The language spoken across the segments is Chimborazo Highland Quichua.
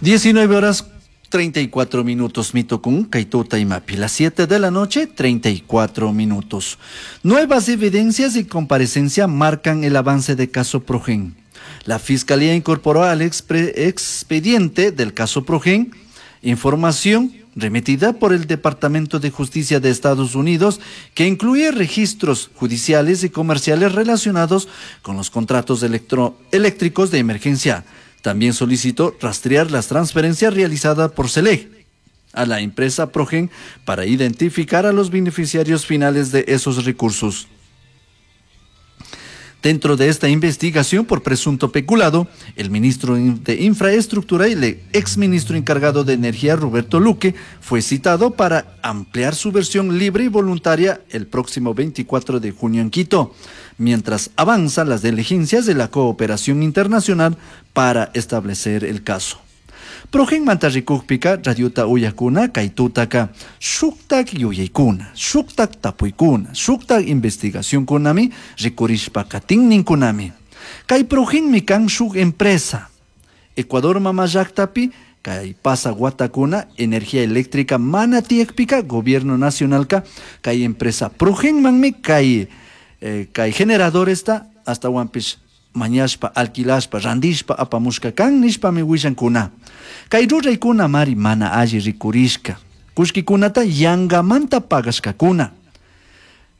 19 horas 34 minutos mitokun kay imapi, las 7 de la noche 34 minutos. Nuevas evidencias y comparecencia marcan el avance de caso Progen. La Fiscalía incorporó al expediente del caso Progen información remitida por el Departamento de Justicia de Estados Unidos que incluye registros judiciales y comerciales relacionados con los contratos eléctricos de emergencia. También solicitó rastrear las transferencias realizadas por Celeg a la empresa Progen para identificar a los beneficiarios finales de esos recursos. Dentro de esta investigación por presunto peculado, el ministro de Infraestructura y el exministro encargado de Energía, Roberto Luque, fue citado para ampliar su versión libre y voluntaria el próximo 24 de junio en Quito, mientras avanzan las diligencias de la cooperación internacional para establecer el caso. Progen manta rikukpika radiota uyakuna kay tutaka shuktak yuyaykuna, shuktak tapuykuna, shuktak investigacionkunami rikurishpa katinninkunami. Kay Progenmi kan shuk empresa. Ecuador mama llaktapi kay pasa watakuna energía eléctrica mana tiyakpika gobierno nacionalka kay empresa Progenmanmi kay kay generadoresta astawanpish mañashpa, alquilashpa, randishpa, apamushka kan nishpami willankuna. Kay ruraykuna mari mana alli rikurishka. Kullkikunata yangamanta pagashkakuna.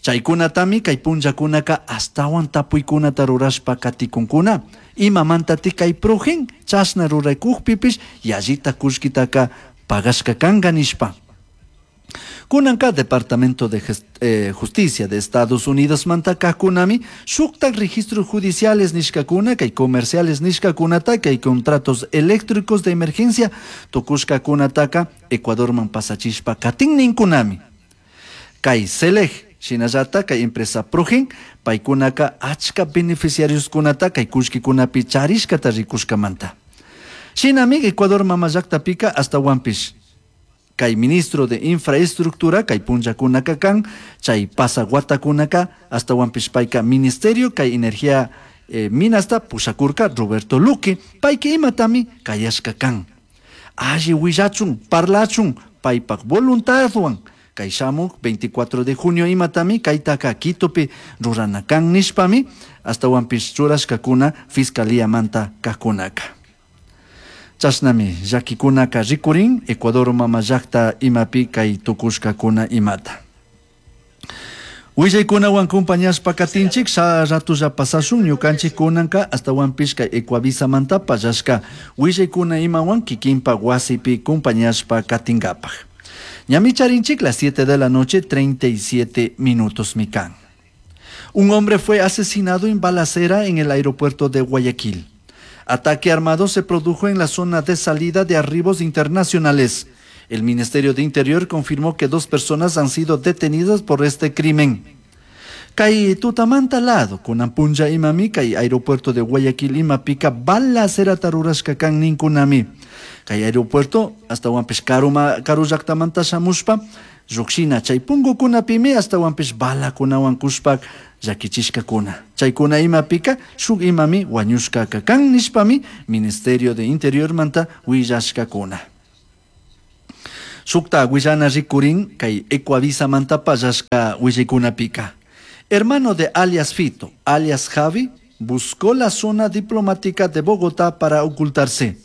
Chaykunatami kay punllakunaka astawan tapuykunata rurashpa katikunkuna. Imamantati kay Progen chashna ruraykukpipish yallita kullkitaka pagashka kanka nishpa. Kunanka Departamento de Justicia de Estados Unidos manta kunami shuktak registros judiciales nishkakuna kay comerciales nishkakunata kay contratos eléctricos de emergencia tukushkakunataka Ecuadorman pasachishpa katinninkunami. Kay Celeg shinallata kay empresa Progen paykunaka achka beneficiarios kunata kay kullkikunapi charishkata rikushkamanta. Shinami Ecuador mama llaktapika astawanpish kay ministro de Infraestructura kay punllakunaka kan chay pasa watakunaka astawanpish payka ministerio kay energía minasta pushakurka Roberto Luque payka imatami kayashka kan. Alli willachun parlachun paypak voluntadwan kay shamuk 24 de junio imatami kaytaka Quitopi rurana kan nishpami astawanpish churashkakuna fiscalía manta kajkunaka. Chashnami llakikunaka rikurin Ecuador mama llakta imapi kay tukushkakuna imata. Willaykunawan compañashpa katinchik sa ratulla pasashun ñukanchik kunanka astawanpish kay Ecuavisa-manta pallashka willaykuna imawan kikinpa wasipi compañashpa katinkapak. Ñami charinchik las 7 de la noche 37 minutos mikan. Un hombre fue asesinado en balacera en el aeropuerto de Guayaquil. Ataque armado se produjo en la zona de salida de arribos internacionales. El Ministerio de Interior confirmó que 2 personas han sido detenidas por este crimen. Kay tutamanta lado, kunan punlla imami, kay aeropuerto de Guayaquil imapika balacera tarurashka kan ninkunami. Kay aeropuerto hasta wanpish karu llaktamanta shamushpa, llukshina chay punkukunapimi hasta wanpish balakunawan kushpak llakichishkakuna. Chaykuna imapika shuk imami wañushkaka kan nishpami Ministerio de Interior manta willashkakuna. Shukta willana rikurin kay Ecuavisa manta pallashka willaykunapika. Hermano de alias Fito, alias Javi, buscó la zona diplomática de Bogotá para ocultarse.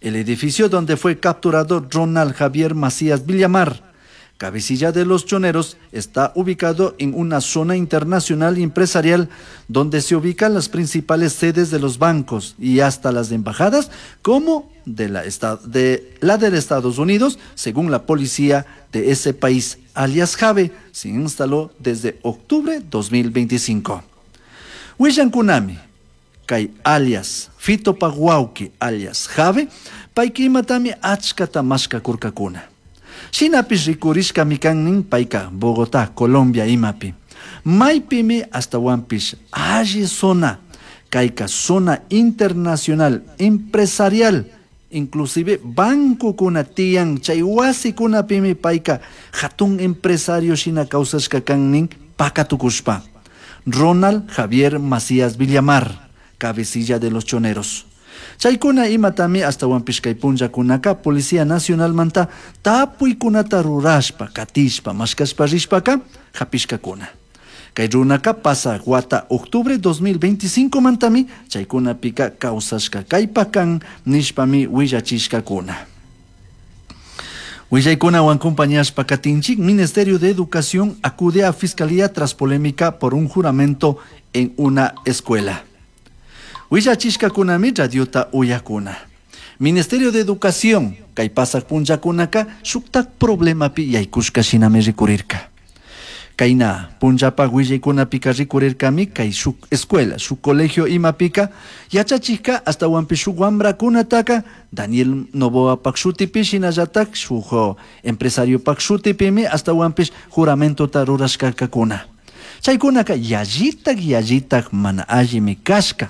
El edificio donde fue capturado Ronald Javier Macías Villamar, cabecilla de los choneros, está ubicado en una zona internacional y empresarial donde se ubican las principales sedes de los bancos y hasta las embajadas, como de la de Estados Unidos, según la policía de ese país. Alias Jave se instaló desde octubre 2025. Willankunami, kay alias Fito Paguauqui, alias Jave, payka imatami achkata mashkakurkakuna. Shinapish rikurishkami kannin payka Bogotá, Colombia imapi. Maypimi astawanpish alli zona, kayka zona internacional empresarial, inclusive bancokuna tiyan chay wasikunapimi payka hatun empresario shina kawsashka kannin pakatukushpa. Ronald Javier Macías Villamar, cabecilla de los choneros. Chaykuna imatami ashtawanpish kay punllakunaka Policía Nacionalmanta tapuykunata rurashpa, katishpa, mashkashpa rishpaka hapishkakuna. Kay runaka pasaq wata octubre 2025 mantami chaykunapika kawsashka kaypakan nishpami willachishkakuna. Willaykunawan compañashpa katinchik, Ministerio de Educación acude a Fiscalía tras polémica por un juramento en una escuela. Willachishkakunami radiota uyakuna. Ministerio de Educación kay pasaq punllakunaka shuktak problemapi yaykushka shinami rikurirka. Kayna punllapak willaykunapika rikurirkami kay shuk escuela, shuk colegio imapika yachachikka ashtawanpish shuk wamrakunataka Daniel Noboapak shutipi shinallatak shuk empresariopak shutipimi ashtawanpish juramentota rurashkakakuna. Chaykunaka yallitak yallitak mana allimi kashka.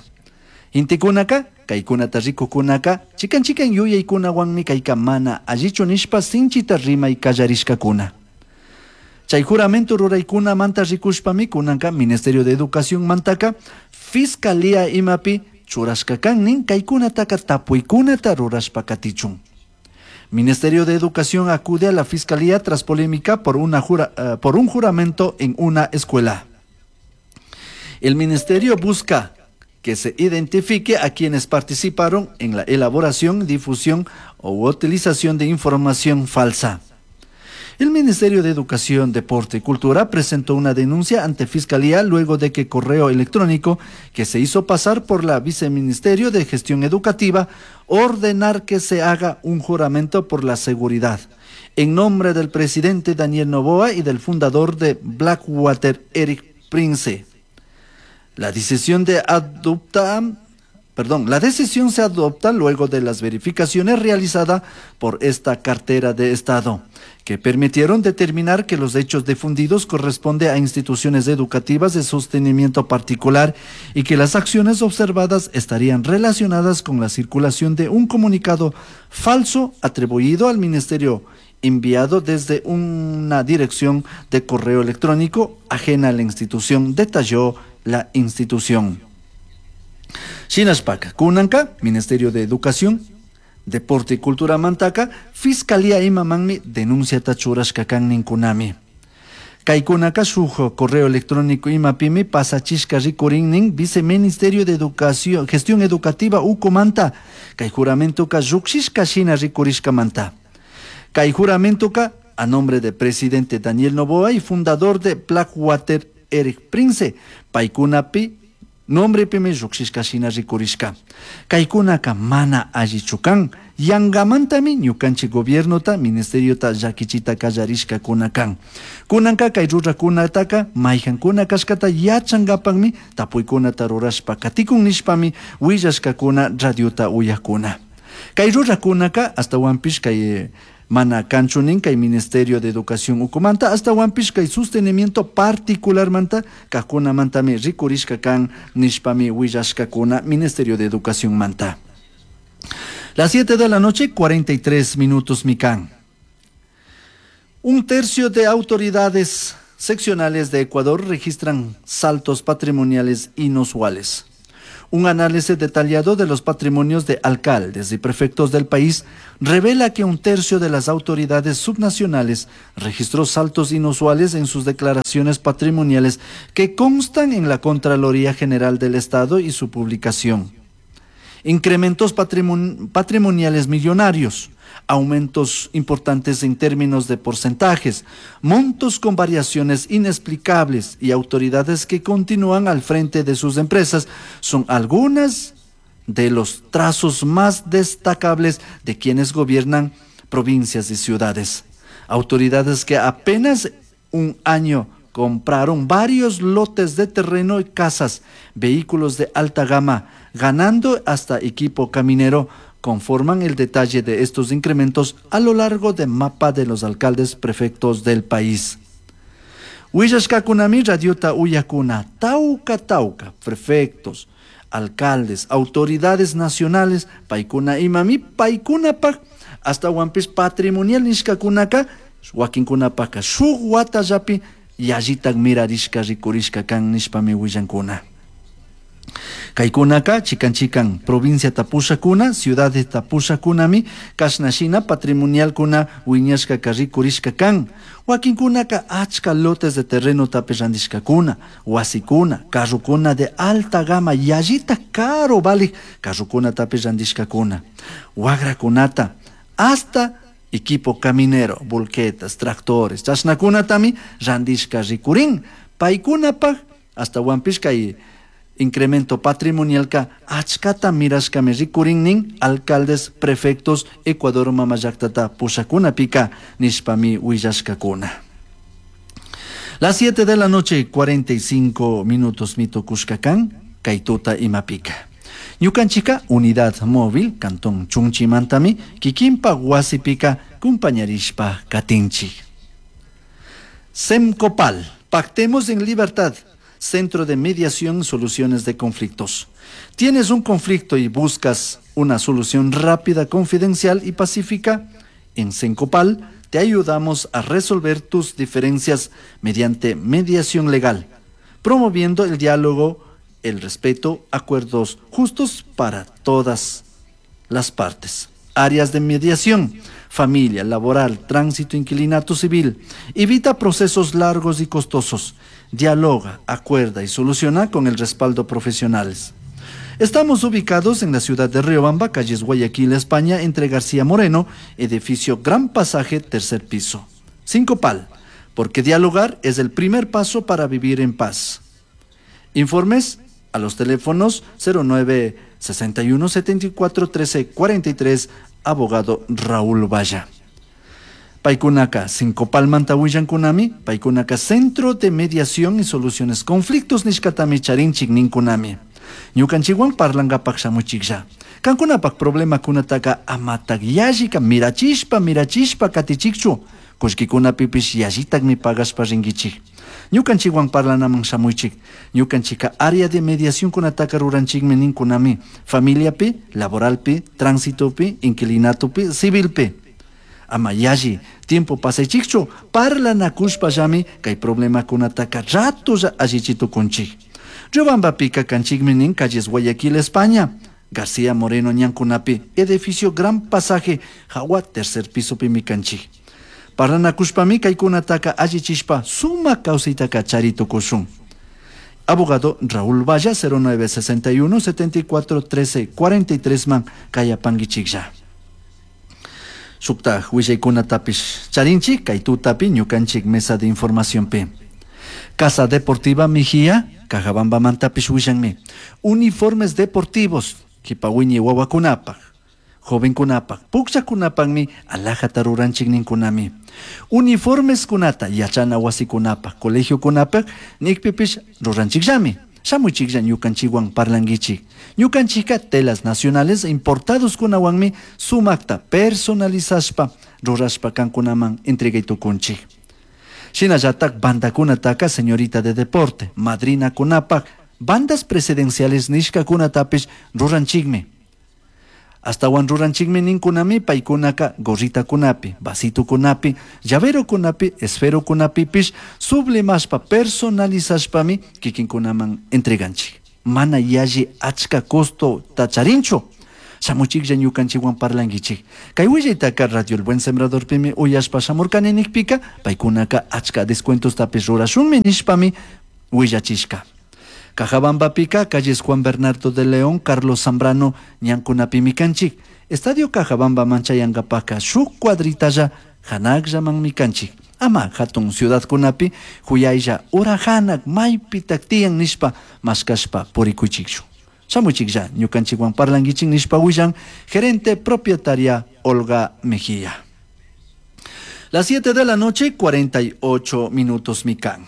Intikunaka kaykunata rikukunaka chikan chikan yuyaykunawanmi kayka mana allichu nishpa sinchita rimay kallarishkakuna. Chay juramento ruraykunamanta rikushpami kunanka Ministerio de Educación mantaka Fiscalía imapi churashka kan nin kaykunataka tapuykunata rurashpa katichun. Ministerio de Educación acude a la Fiscalía tras polémica por un juramento en una escuela. El ministerio busca que se identifique a quienes participaron en la elaboración, difusión o utilización de información falsa. El Ministerio de Educación, Deporte y Cultura presentó una denuncia ante Fiscalía luego de que correo electrónico que se hizo pasar por la Viceministerio de Gestión Educativa ordenar que se haga un juramento por la seguridad en nombre del presidente Daniel Noboa y del fundador de Blackwater, Eric Prince. La decisión se adopta luego de las verificaciones realizadas por esta cartera de Estado, que permitieron determinar que los hechos difundidos corresponden a instituciones educativas de sostenimiento particular y que las acciones observadas estarían relacionadas con la circulación de un comunicado falso atribuido al ministerio enviado desde una dirección de correo electrónico ajena a la institución, detalló la institución. Shinashpaka, kunanka, Ministerio de Educación, Deporte y Cultura mantaka, Fiscalía imamanmi denuncia churashka kan ninkunami. Kaykunaka shuk correo electrónico imapimi pasachishka rikurinnin Viceministerio de Educación, Gestión Educativa ukumanta, kay juramentoka llukshishka shina rikurishkamanta. Kay juramentoka a nombre de presidente Daniel Noboa y fundador de Blackwater Eric Prince, paykunapi nombre pimi llukshishka shina rikurishka. Kaykunaka mana allichu kan, yangamantami ñukanchik gobiernota, ministeriota llakichita kallarishkakuna kan. Kunanka kay rurakunataka mayhankuna kashkata yachankapakmi tapuykunata rurashpa katikun nishpami willashkakuna radiota uyakuna. Kay rurakunaka ashtawanpish kay mana kanchunin kay Ministerio de Educación ukumanta ashtawanpish kay sostenimiento particularmanta kajkunamantami rikurishka kan nishpami willashkakuna Ministerio de Educación manta. Las 7 de la noche, 43 minutos mikan. Un tercio de autoridades seccionales de Ecuador registran saltos patrimoniales inusuales. Un análisis detallado de los patrimonios de alcaldes y prefectos del país revela que un tercio de las autoridades subnacionales registró saltos inusuales en sus declaraciones patrimoniales que constan en la Contraloría General del Estado y su publicación. Incrementos patrimoniales millonarios, aumentos importantes en términos de porcentajes, montos con variaciones inexplicables y autoridades que continúan al frente de sus empresas son algunas de los trazos más destacables de quienes gobiernan provincias y ciudades. Autoridades que apenas un año compraron varios lotes de terreno y casas, vehículos de alta gama, ganando hasta equipo caminero, conforman el detalle de estos incrementos a lo largo del mapa de los alcaldes prefectos del país. Willashkakunami radiota uyakuna, tauca tauca, prefectos, alcaldes, autoridades nacionales, paikuna imami, paikunapaj, hasta wampis patrimonial nishkakunaka, wakinkunapaka shuk watallapi, yallitak mirarishka rikurishka kan nishpami willankuna. Kaykunaka chikan chikan provinciata pushakuna, ciudadesta pushakunami kashnashina patrimonialkuna wiñashkaka rikurishka kan. Wakinkunaka achka lotes de terrenotapish randishkakuna, wasikuna, carrokuna de alta gama yallita caro valik carrokunatapish randishkakuna, wagrakunata, hasta equipo caminero, volquetas, tractores, chashnakunatami randishka rikurin. Paykunapak ashtawanpish kay incremento patrimonialka achkata mirashkami rikurin nin alcaldes, prefectos, Ecuador mama llaktata pushakunapika nishpami willashkakuna. Las 7 de la noche, 45 minutos mitukushka kan, kay tuta imapika. Ñukanchika unidad móvil, cantón Chunchimantami, kikinpa wasipika kumpañarishpa katinchik. Semcopal, pactemos en libertad, Centro de Mediación, Soluciones de Conflictos. ¿Tienes un conflicto y buscas una solución rápida, confidencial y pacífica? En Sencopal te ayudamos a resolver tus diferencias mediante mediación legal, promoviendo el diálogo, el respeto, acuerdos justos para todas las partes. Áreas de mediación, familia, laboral, tránsito, inquilinato civil. Evita procesos largos y costosos. Dialoga, acuerda y soluciona con el respaldo profesionales. Estamos ubicados en la ciudad de Riobamba, calles Guayaquil, España, entre García Moreno, edificio Gran Pasaje, tercer piso. Sincopal, porque dialogar es el primer paso para vivir en paz. Informes a los teléfonos 09 61 74 13 43, abogado Raúl Valla. Paykunaka, Sincopalmanta willankunami, paykunaka Centro de Mediación y Soluciones Conflictos nishkatami charinchik ninkunami. Ñukanchikwan parlangapak shamuchiklla. Kankunapak problemakunataka amatak yallika mirachishpa mirachishpa katichikchu. Kullkikunapipish yallitakmi pagashpa rinkichik. Ñukanchikwan parlanaman shamuychik. Ñukanchika área de mediación kunataka ruranchikmi ninkunami. Familiapi, laboralpi, tránsitopi, inquilinatopi, civilpi. Ama yalli, tiempo pasaychikchu, parlanakushpallami kay problemakunataka ratolla allichitukunchik. Riobambapika kanchikmi nin calles Guayaquil, España. García Moreno ñankunapi, edificio Gran Pasaje, jawa tercer piso kanchik. Parlanakushpami kaykunataka allichishpa sumak kawsaytaka charitukushun. Abogado Raúl Valla, 09 61 74 13 43 man kayapankichiklla. Shuktaj willaykunatapish charinchik kay tutapi ñukanchik mesa de información pi. Casa Deportiva Mejía, Cajabambamantapish willanmi. Uniformes deportivos, kipawiñi wawakunapaj, jovenkunapaj, pukllakunapakmi alhajata ruranchik ninkunami. Uniformes kunata yachana wasikunapaj, colegiokunapaj nikpipish ruranchikllami. Shamuchiklla ñukanchikwan parlankichik. Ñukanchikka telas nacionales importados kunawanmi sumakta personalizashpa rurashpa kankunaman entregay tukunchik. Shinallatak bandakunataka señorita de deporte, madrina kunapak, bandas presidenciales nishkakunatapish ruranchikmi. Ashtawan ruranchikmi ninkunami paykunaka gorritakunapi, vasitukunapi, llaverokunapi, esferokunapipish sublimashpa personalizashpami kikinkunaman entreganchik. Mana yalli achka costo tacharinchu. Shamuchiklla ñukanchikwan parlankichik. Kay willaytaka Radio El Buen Sembradorpimi uyashpa shamurkani nikpika, paykunaka achka descuentostapish rurashunmi nishpami willachishka. Cajabambapika, calles Juan Bernardo de León, Carlos Zambrano, ñankunapimi kanchik. Estadio Cajabamba manchayankapaka shuk cuadritalla hanakllamanmi kanchik. Ama hatun ciudadkunapi huyaylla ura hanak maypitak tiyan nishpa mashkashpa purikuychikchu. Shamuchiklla ñukanchikwan parlankichik nishpa willan gerente propietaria Olga Mejía. Las 7 de la noche, 48 minutos mikan.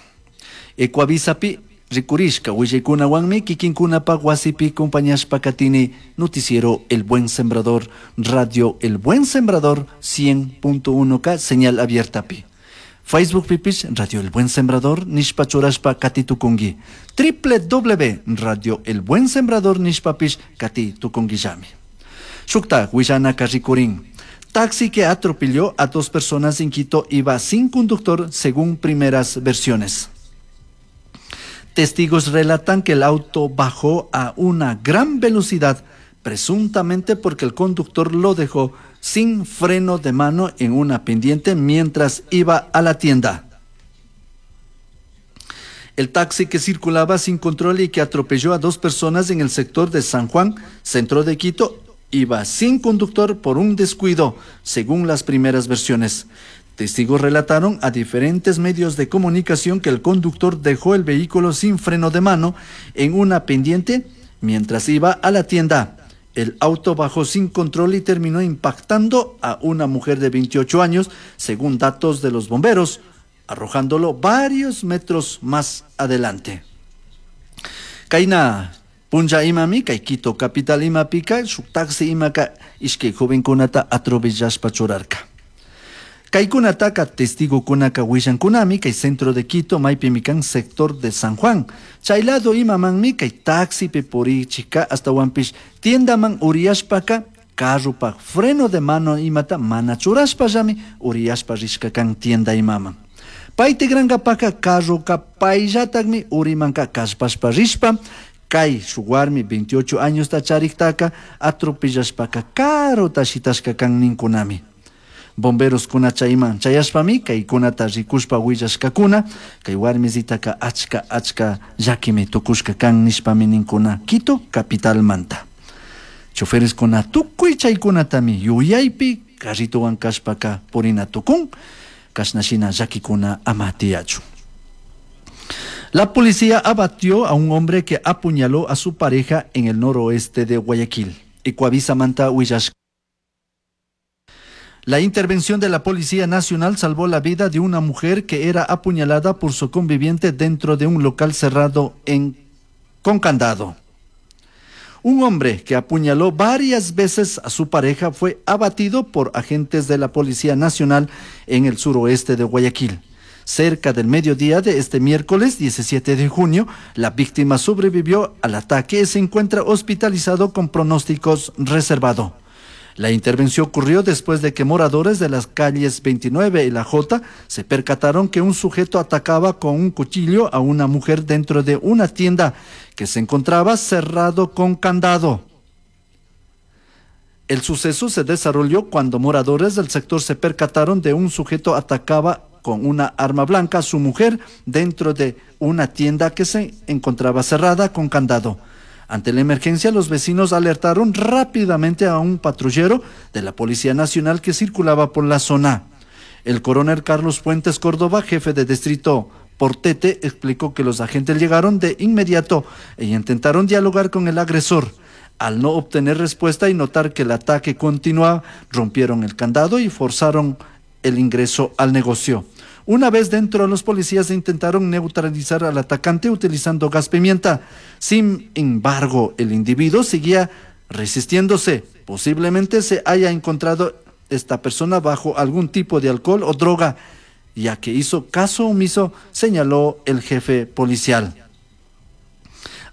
Ecuavisapi rikurishka willaykunawanmi kikinkunapak wasipi compañashpa katini noticiero El Buen Sembrador, Radio El Buen Sembrador 100.1K, señal abierta pi. Facebook pipish Radio El Buen Sembrador nishpa churashpa katitukungi. Triple W Radio El Buen Sembrador nishpapish katitukunguillami. Shukta willanaka rikurin. Taxi que atropelló a 2 personas en Quito iba sin conductor según primeras versiones. Testigos relatan que el auto bajó a una gran velocidad, presuntamente porque el conductor lo dejó sin freno de mano en una pendiente mientras iba a la tienda. El taxi que circulaba sin control y que atropelló a dos personas en el sector de San Juan, centro de Quito, iba sin conductor por un descuido, según las primeras versiones. Testigos relataron a diferentes medios de comunicación que el conductor dejó el vehículo sin freno de mano en una pendiente mientras iba a la tienda. El auto bajó sin control y terminó impactando a una mujer de 28 años, según datos de los bomberos, arrojándolo varios metros más adelante. Kayna punlla imami kay Quito capital imapika shuk taxi imaka ishkay jovenkunata atropellashpa churarka. Kaykunataka testigokunaka willankunami kay centro de Quito maypimi kan sector de San Juan. Chay lado imamanmi kay taxipi purichika ashtawanpish tiendaman uriyashpaka carropak freno de mano imata mana churashpallami uriyashpa rishka kan tienda imaman. Pay tikrankapaka carroka payllatakmi urimanka kallpashpa rishpa kay shuk warmi 28 añosta chariktaka atropellashpaka karuta shitashka kan ninkunami. Bomberoskuna chayman chayashpami kaykunata rikushpa willashkakuna kay warmisitaka achka achka llakimi tukushka kan nishpami ninkuna Quito capitalmanta. Chofereskuna tukuy chaykunatami yuyaypi carritowan kashpaka purina tukun kashna shina llakikuna ama tiyachun. La policía abatió a un hombre que apuñaló a su pareja en el noroeste de Guayaquil. Ecuavisamanta huillash. La intervención de la Policía Nacional salvó la vida de una mujer que era apuñalada por su conviviente dentro de un local cerrado con candado. Un hombre que apuñaló varias veces a su pareja fue abatido por agentes de la Policía Nacional en el suroeste de Guayaquil. Cerca del mediodía de este miércoles 17 de junio, la víctima sobrevivió al ataque y se encuentra hospitalizado con pronósticos reservado. La intervención ocurrió después de que moradores de las calles 29 y la J se percataron que un sujeto atacaba con un cuchillo a una mujer dentro de una tienda que se encontraba cerrado con candado. El suceso se desarrolló cuando moradores del sector se percataron de un sujeto atacaba con una arma blanca a su mujer dentro de una tienda que se encontraba cerrada con candado. Ante la emergencia, los vecinos alertaron rápidamente a un patrullero de la Policía Nacional que circulaba por la zona. El coronel Carlos Fuentes Córdoba, jefe de distrito Portete, explicó que los agentes llegaron de inmediato e intentaron dialogar con el agresor. Al no obtener respuesta y notar que el ataque continuaba, rompieron el candado y forzaron el ingreso al negocio. Una vez dentro, los policías intentaron neutralizar al atacante utilizando gas pimienta. Sin embargo, el individuo seguía resistiéndose. Posiblemente se haya encontrado esta persona bajo algún tipo de alcohol o droga, ya que hizo caso omiso, señaló el jefe policial.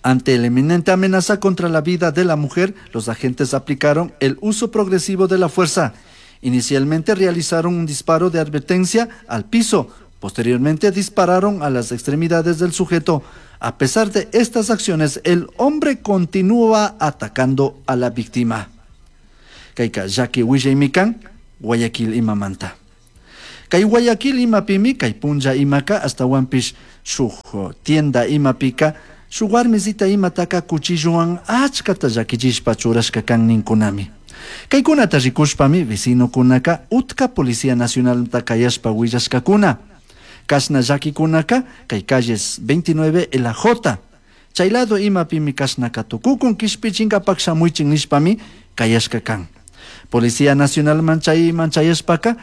Ante la inminente amenaza contra la vida de la mujer, los agentes aplicaron el uso progresivo de la fuerza. Inicialmente realizaron un disparo de advertencia al piso, posteriormente dispararon a las extremidades del sujeto. A pesar de estas acciones, el hombre continúa atacando a la víctima. Kayka llaki willaymi kan, Guayaquil imamanta. Kay Guayaquil imapimi, kay punlla imaka, ashtawanpish shuk tienda imapika, shuk warmisita imataka cuchillowan achkata llakichishpa churashka kan ninkunami. Kaykunata rikushpami vecinokunaka utka Policía Nacionalta kayashpa willashkakuna. Kashna llakikunaka kay calles 29 y la J. Chay lado imapimi kashnaka tukukun kishpichinkapak shamuychin nishpami kayashka kan. Policía Nacional manchayman chayashpaka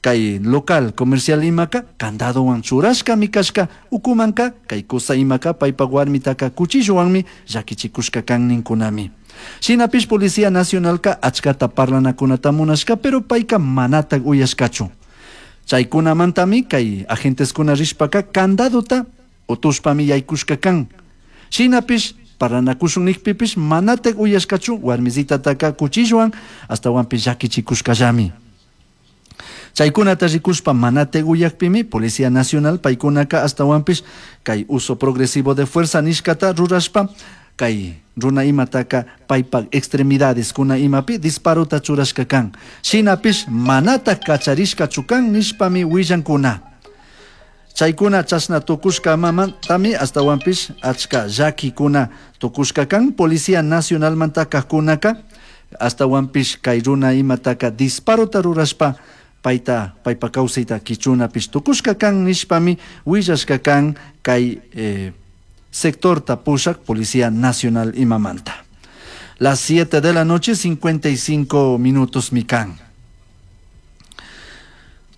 kay local comercial imaka candadowan churashkami kashka ukumanka kay kusa imaka paypak warmitaka cuchillowanmi llakichikushka kan ninkunami. Shinapish Policía Nacionalka achkata parlanakunata munashka, pero payka manatak uyashkachu. Chaykunamantami kay agenteskuna rishpaka candadota utushpami yaykushka kan. Shinapish parlanakushun nikpipish manatak uyashkachu warmisitataka cuchillowan ashtawanpish llakichikushkallami. Chaykunata rikushpa mana uyakpimi Policía Nacional paykunaka ashtawanpish kay uso progresivo de fuerza nishkata rurashpa kay runa imataka paypak extremidades kuna imapi disparota churashka kan. Shinapish manatak kacharishkachu kan nishpami willankuna. Chaykuna chashna tukushka mamantami ashtawanpish achka llakikuna tukushka kan. Policía Nacionalmanta kajkunaka ashtawanpish kay runa imataka disparota rurashpa payta paypa kawsayta kichunapish tukushka kan nishpami willashka kan kay sectorta pushak Policía Nacional imamanta. Las 7 de la noche, 55 minutos mikan.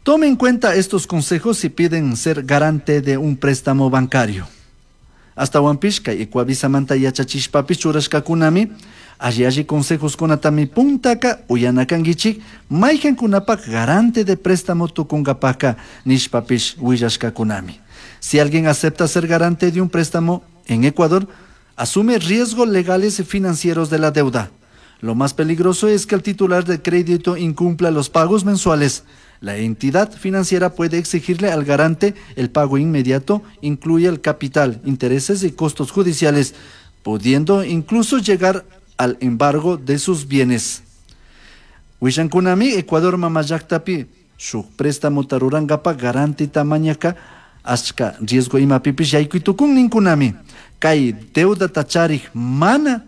Tome en cuenta estos consejos si piden ser garante de un préstamo bancario. Ashtawanpish kay Ecuavisamanta yachachishpapish churashkakunami alli alli consejos kunatami puntaka uyana kankichik maykankunapak garante de préstamo tukunkapaka nishpapish willashkakunami. Si alguien acepta ser garante de un préstamo en Ecuador, asume riesgos legales y financieros de la deuda. Lo más peligroso es que el titular de crédito incumpla los pagos mensuales. La entidad financiera puede exigirle al garante el pago inmediato, incluye el capital, intereses y costos judiciales, pudiendo incluso llegar al embargo de sus bienes. Willankunami, Ecuador mamallaktapi, shuk préstamo rurankapa garantita mañaka, achka riesgo imapipish yaykuy ninkunami. Kay deudata charik mana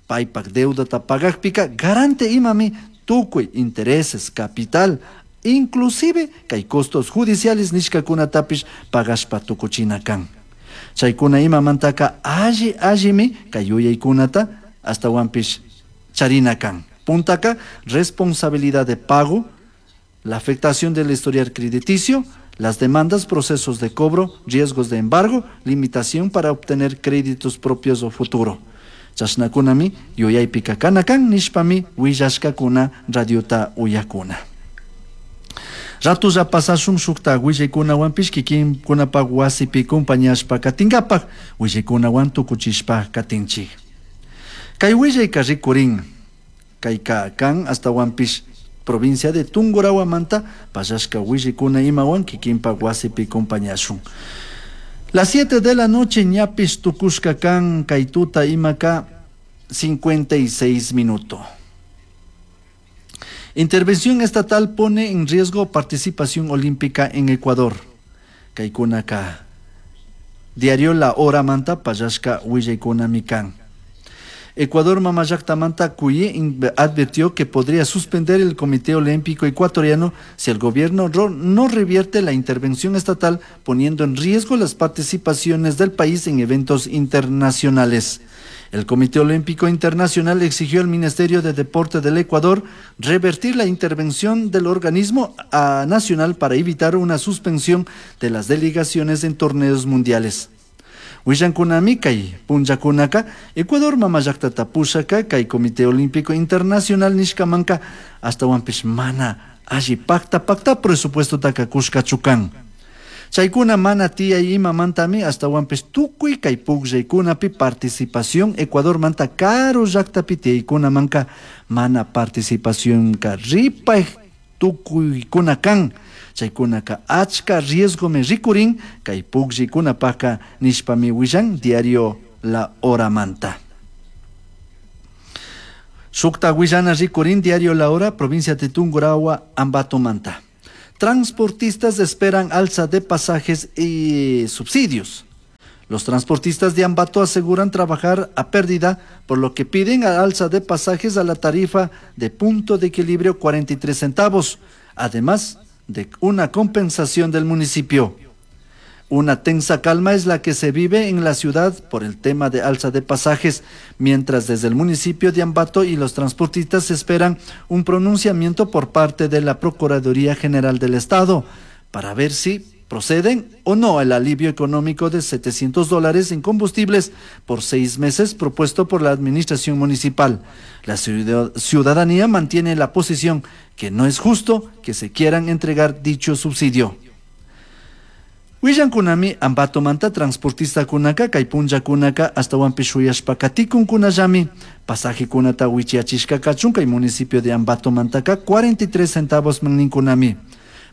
paypak deudata pagakpika garante imami tukuy intereses, capital, inclusive kay costos judiciales nishkakunatapish pagashpa tukuchina kan. Chaykuna imamantaka alli allimi kay yuyaykunata ashtawanpish charina kan. Puntaka responsabilidad de pago, la afectación del historial crediticio, las demandas, procesos de cobro, riesgos de embargo, limitación para obtener créditos propios o futuro. Chashnakunami yuyaypika kana kan nishpami willashkakuna radiota uyakuna. Ratulla pasashun shukta willaykunawanpish kikinkunapak wasipi compañashpa katinkapak willaykunawan tukuchishpa katinchik. Kay willayka rikurin kayka kan ashtawanpish provincia de Tungurawamanta pallashka willaykuna imawan kikinpak wasipi compañashun. Las 7 de la noche ñapish tukushka kan kay tuta imaka 56 minutos. Intervención estatal pone en riesgo participación olímpica en Ecuador. Kaykunaka. Diario La Hora manta pallashka willaykunami kan. Ecuador Mamallaktamanta CUIE advirtió que podría suspender el Comité Olímpico Ecuatoriano si el gobierno no revierte la intervención estatal, poniendo en riesgo las participaciones del país en eventos internacionales. El Comité Olímpico Internacional exigió al Ministerio de Deporte del Ecuador revertir la intervención del organismo nacional para evitar una suspensión de las delegaciones en torneos mundiales. Willankunami kay punllakunaka Ecuador mamallaktata pushaka kay Comité Olímpico Internacional nishkamanka ashtawanpish mana alli pakta pakta presupuestotaka kushkachu kan. Chaykuna mana tiyay imamantami ashtawanpish tukuy kay pukllaykunapi participación Ecuadormanta karu llaktapi tiyaykunamanka mana participacionka ripay tukuykuna kan. Chaykunaka achka riesgomi rikurin kay pukllaykunapaka nishpami willan diario La Horamanta. Shukta willana rikurin diario La Hora, provincia de Tungurahua, Ambatomanta. Transportistas esperan alza de pasajes y subsidios. Los transportistas de Ambato aseguran trabajar a pérdida, por lo que piden alza de pasajes a la tarifa de punto de equilibrio 43 centavos, además de una compensación del municipio. Una tensa calma es la que se vive en la ciudad por el tema de alza de pasajes, mientras desde el municipio de Ambato y los transportistas esperan un pronunciamiento por parte de la Procuraduría General del Estado para ver si proceden o no al alivio económico de $700 en combustibles por 6 meses propuesto por la administración municipal. La ciudadanía mantiene la posición que no es justo que se quieran entregar dicho subsidio. Willankunami Ambatomanta transportista kunaka kay punllakunaka ashtawanpish shuyashpa katikunkunallami pasajekunata wichiyachishka kachun kay municipio de Ambatomantaka 43 centavos ninkunami.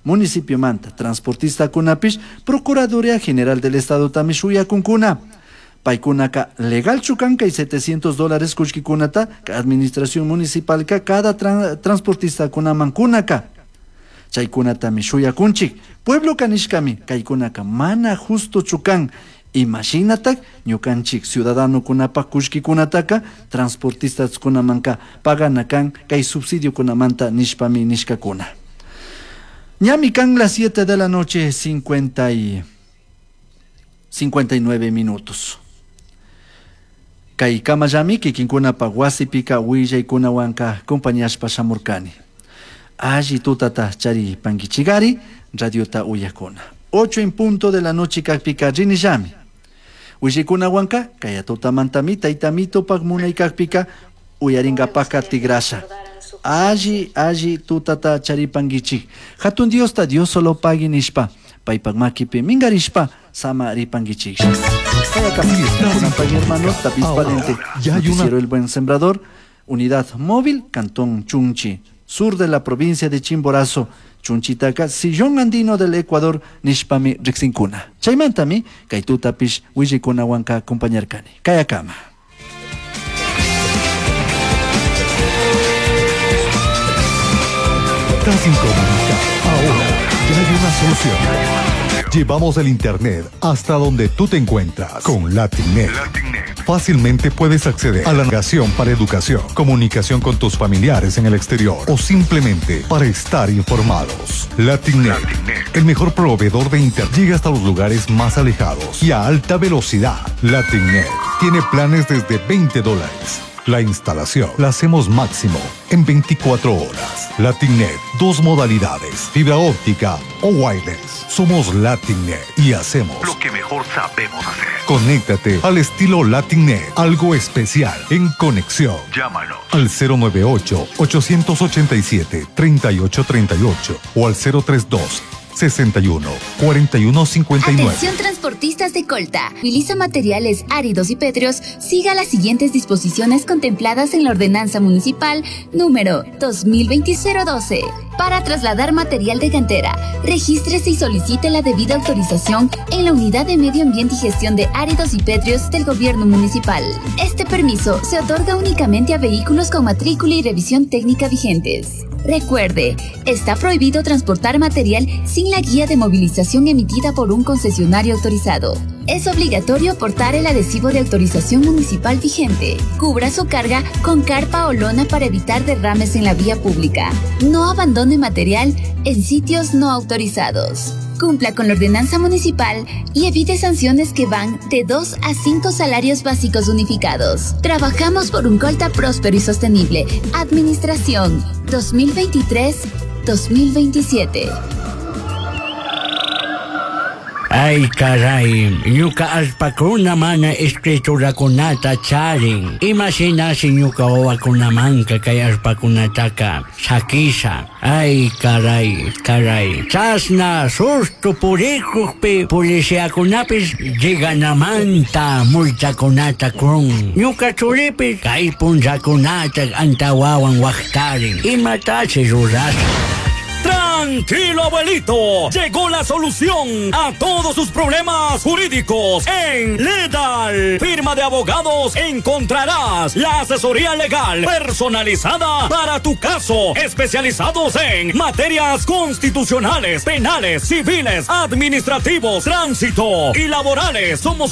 Municipio manta transportistakunapish Procuraduría General del Estadotami shuyakunkuna. Paykunaka legalchu kan kay $700 kullkikunata administración municipalka cada transportistakunaman kunaka. Chaykunatami shuyakunchik. Pueblo kanishkami kaykunaka mana justochu kan. Imashinatak ñukanchik ciudadanokunapak kullkikunataka transportistakunamanka pagana kan kay subsidiokunamanta nishpami nishkakuna. Ñami kan las 7 de la noche 59 minutos. Kay kamallami kikinkunapak wasipika willaykunawanka compañashpa shamurkani. Alli tutata charipankichikari radiota uyakuna. 8 en punto de la noche kakpika rinillami. Willaykunawanka kaya tutamantami taytamitopak munay kakpika uyaringapaka tigrasha. Alli, alli tutata charipankichik. Hatun Diosta Dios solo pagui nishpa. Paypak makipi mingarishpa sama ripankichik. Hermano David Valente, noticiero El Buen Sembrador, Unidad Móvil, Cantón Chunchi, sur de la provincia de Chimborazo, Chunchitaca, Sillón Andino del Ecuador, nishpami riksinkuna. Chaymantami, kay tutapish willaykunawanka acompañarkani. Kayakama. Estás incomunicado. Ahora ya hay una solución. Llevamos el internet hasta donde tú te encuentras con Latinnet. Fácilmente puedes acceder a la navegación para educación, comunicación con tus familiares en el exterior o simplemente para estar informados. Latinnet, el mejor proveedor de internet, llega hasta los lugares más alejados y a alta velocidad. Latinnet tiene planes desde $20. La instalación la hacemos máximo en 24 horas. Latinnet, 2 modalidades, fibra óptica o wireless. Somos Latinnet y hacemos lo que mejor sabemos hacer. Conéctate al estilo Latinnet, algo especial en conexión. Llámanos al 098 887 3838 o al 032 61 41 59. Atención transportistas de Colta. Utiliza materiales áridos y pétreos. Siga las siguientes disposiciones contempladas en la Ordenanza Municipal número 2020-012. Para trasladar material de cantera, regístrese y solicite la debida autorización en la Unidad de Medio Ambiente y Gestión de Áridos y Pétreos del Gobierno Municipal. Este permiso se otorga únicamente a vehículos con matrícula y revisión técnica vigentes. Recuerde, está prohibido transportar material sin la guía de movilización emitida por un concesionario autorizado. Es obligatorio portar el adhesivo de autorización municipal vigente. Cubra su carga con carpa o lona para evitar derrames en la vía pública. No abandone material en sitios no autorizados. Cumpla con la ordenanza municipal y evite sanciones que van de 2 a 5 salarios básicos unificados. Trabajamos por un Colta próspero y sostenible. Administración 2023-2027. Ay, caray, ñuka allpakuna mana escriturakunata charin. Imashinashi ñuka wawakunamanka kay allpakunataka sakisha. Ay, caray, caray. Chasna susto purikukpi policiakunapis lleganamanta multakunata kun. Ñuka churipis kay punllakunata antawawan waqtarin. Imatashi rurasha. Tranquilo, abuelito. Llegó la solución a todos sus problemas jurídicos en Ledal. Firma de abogados encontrarás la asesoría legal personalizada para tu caso. Especializados en materias constitucionales, penales, civiles, administrativos, tránsito y laborales. Somos un